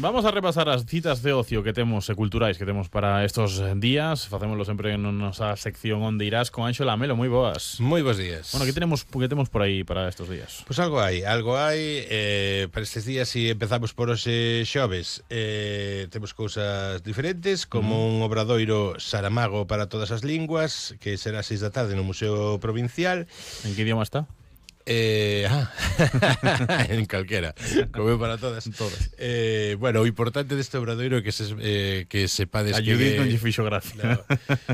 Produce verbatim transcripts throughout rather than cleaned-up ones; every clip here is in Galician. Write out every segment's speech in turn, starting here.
Vamos a repasar as citas de ocio que temos e culturais que temos para estos días. Facémoslo sempre en nosa sección Onde Irás con Anxo Lamelo. Moi boas. Moi bons días. Bueno, que tenemos, que temos por aí para estos días? Pois pues algo hai, algo hai eh, para estes días. Si empezamos por hoxe xoves, eh, temos cousas diferentes, como mm. un obradoiro Saramago para todas as linguas, que será seis da tarde no Museo Provincial. En que idioma está? Eh, ah, en calquera, como para todas. Todas. Eh, bueno, o importante deste obradoiro é que se eh, que sepades a que Judith non lle fixo gracia. No,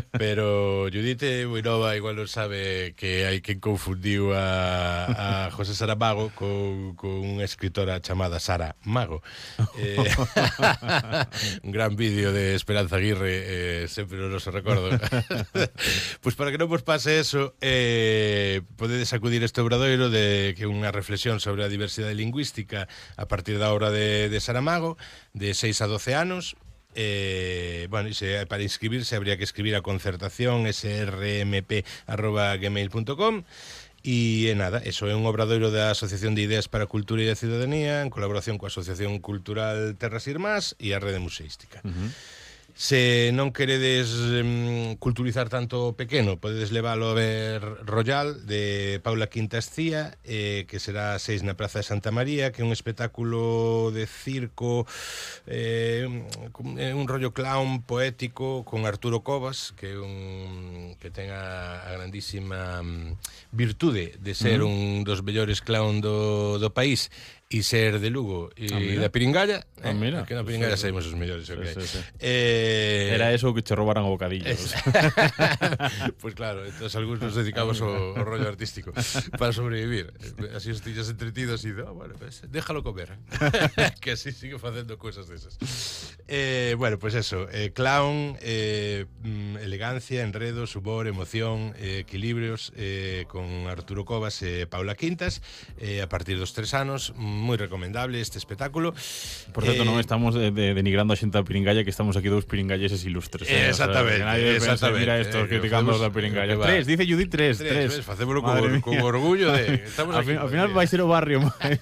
pero Judith é moi nova, igual non sabe que hai quen confundiu a, a José Saramago con, con unha escritora chamada Sara Mago. Eh, un gran vídeo de Esperanza Aguirre, eh, sempre non se recordo. Pois pues para que non vos pase eso, eh, podedes acudir a este obradoiro de que unha reflexión sobre a diversidade lingüística a partir da obra de, de Saramago, de seis a doce anos. Eh, bueno, se, para inscribirse habría que escribir a concertación s r m p arroba gmail punto com. E é nada, eso é un obradoiro da Asociación de Ideas para a Cultura e a Ciudadanía en colaboración coa Asociación Cultural Terras Irmás e a Rede Museística. Uh-huh. Se non queredes um, culturizar tanto pequeno, podedes leválo a ver Royal, de Paula Quintas Cía, eh, que será a seis na Praza de Santa María, que é un espectáculo de circo, eh, un rollo clown poético con Arturo Covas, que é un que ten a, a grandísima um, virtude de ser uh-huh. un dos mellores clown do, do país e ser de Lugo e ah, da Piringalla. Ah, mira. Eh, que na Piringalla sí, saímos os mellores, okay. Sí, sí, sí. Eh, Era eso que che robaran o bocadillo. Es... Pois pues claro, entonces algúns nos dedicamos ao, ao rollo artístico para sobrevivir. Así os tiñas entretidos e, oh, bueno, pues, déjalo comer. Que así sigue facendo cousas desas. Eh, bueno, pues eso, eh, clown, eh, elegancia, enredos, humor, emoción, eh, equilibrios, eh, con Arturo Covas e Paula Quintas, eh, a partir dos tres anos. Moi recomendable este espectáculo. Por certo, eh, non estamos de, de, denigrando a xente da Piringalla, que estamos aquí dous piringalleses ilustres. Eh, exactamente. O sea, nadie exactamente. Pensa, mira estos eh, criticando os da Piringalla. Tres, dice Judith, tres. Tres, tres. Facémoslo con, con orgullo de... Estamos al, aquí, fin, al final vai ser o barrio máis,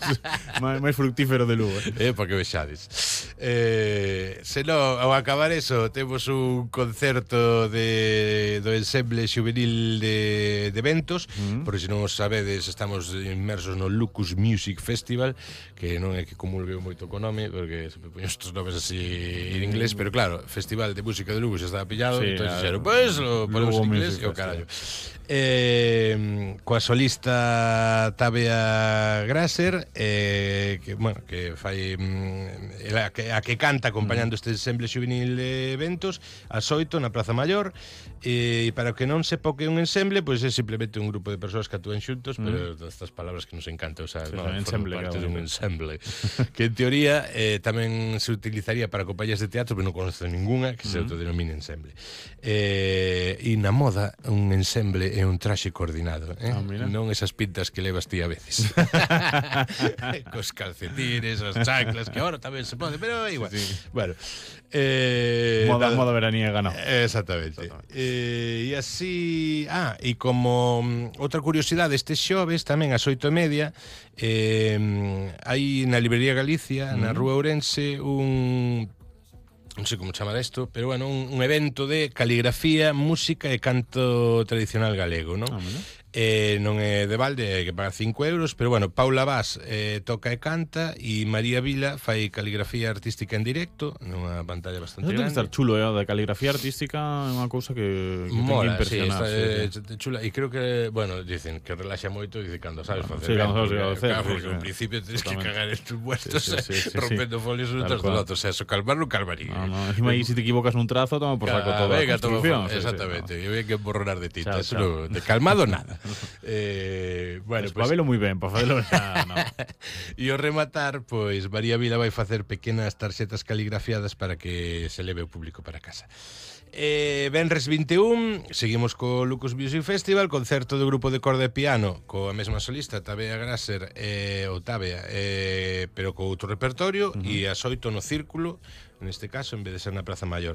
máis fructífero de Lugo. Eh, para que vexades. Eh, se non, ao acabar eso, temos un concerto de, do ensemble juvenil de, de eventos, mm. porque se non os sabedes, estamos inmersos no Lucus Music Festival, que non é que comulgue moito co nome, porque sempre poño estes nomes así en inglés, pero claro, Festival de Música de Lugo xa estaba pillado, sí, entón dixeron, pois pues, lo ponemos en inglés e o carallo. Eh, coa solista Tabea Grasser, eh, que, bueno, que fai a que, a que canta acompañando este ensemble juvenil de eventos ás oito na Praza Maior, e para que non sepa o que é un ensemble, pois é simplemente un grupo de persoas que actúan xuntos, mm. pero estas palabras que nos encanta usar, sí, no, ensemble, parte claro, de un ensemble que en teoría eh, tamén se utilizaría para compañías de teatro, pero non conozco ninguna que se mm. autodenomine ensemble. Eh, e na moda un ensemble é un traxe coordinado, eh? Ah, non esas pintas que levas ti a veces. Cos calcetines, as chanclas, que agora tamén se pode, pero igual. Sí. Bueno, eh, moda, moda veraniega, no. Exactamente. Exactamente. Eh, e así, ah, e como um, outra curiosidade, este xoves tamén ás oito e media eh, hai na Librería Galicia, mm. na Rúa Ourense, un non sei como chamar isto, pero bueno, un, un evento de caligrafía, música e canto tradicional galego, non? Ah, eh, non é de balde, hai que pagar cinco euros, pero bueno, Paula Vaz eh, toca e canta e María Vila fai caligrafía artística en directo nunha pantalla bastante grande. Debe estar chulo, eh, da caligrafía artística é unha cousa que, que mola, ten que impresionar. Sí, está, sí, chula, e creo que, bueno, dicen que relaxa moito e cando sabes facer. Sí, cando sabes facer. Claro, porque ao principio tens que cagar en tus muertos, sí, sí, sí, sí, rompendo sí, folios un tras do outro, o sea, eso calmar non calmaría. No, no, encima aí se te equivocas nun trazo, toma por saco toda a construcción. Exactamente, e ven que borronar de tinta, eso non, de calmado nada. Eh, Eh, bueno, pues, pues favelo moi ben, para favelo xa, no. E o rematar, pois María Vila vai facer pequenas tarxetas caligrafiadas para que se leve o público para casa. Eh, Venres vinte e un, seguimos co Lucus Music Festival, concerto do grupo de corda e piano coa mesma solista, Tabea Grasser, eh, ou Tabea, eh, pero co outro repertorio, uh-huh. e as oito no Círculo, neste caso, en vez de ser na Praza Maior.